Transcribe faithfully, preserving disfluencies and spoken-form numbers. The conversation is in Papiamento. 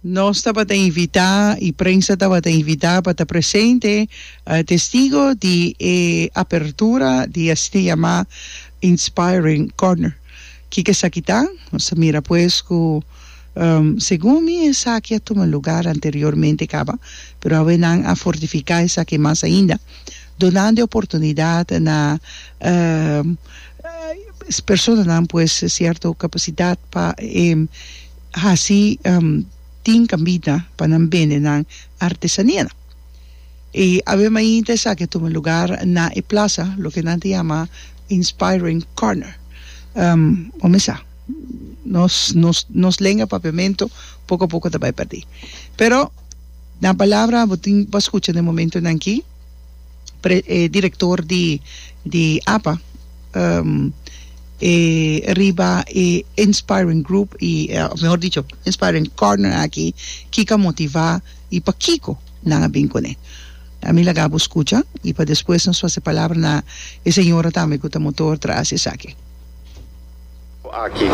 Nos tabata invitá i prensa tabata invitá pa ta presente, testigo di e apertura di asina yamá Inspiring Corner. Kiko esaki ta? Nos a mira pues ku segun mi esaki a tuma lugar anteriormente kaba, pero awe nan a fortifiká esaki mas ainda, donando e oportunidat na personanan pues sierto kapasidat pa e hasi tin kambida pa nan bende nan artesanianan. I awe mainta esaki a tuma lugar na e plaza, loke nan ta yama Inspiring Corner. Bo mesa, nos nos nos lenga papiamento poko poko ta bai perdí. Pero na palabra bo tin pa skucha den momentonan aki pre e direktor di di apa e riba e Inspiring Group y of mehor dicho Inspiring Corner aki kiko a motiva y pakiko nan a bin cune. Ami laga bo scucha y pa despues nos pasa e palabra na e señora tambe cu ta motor tras esaki. Aki.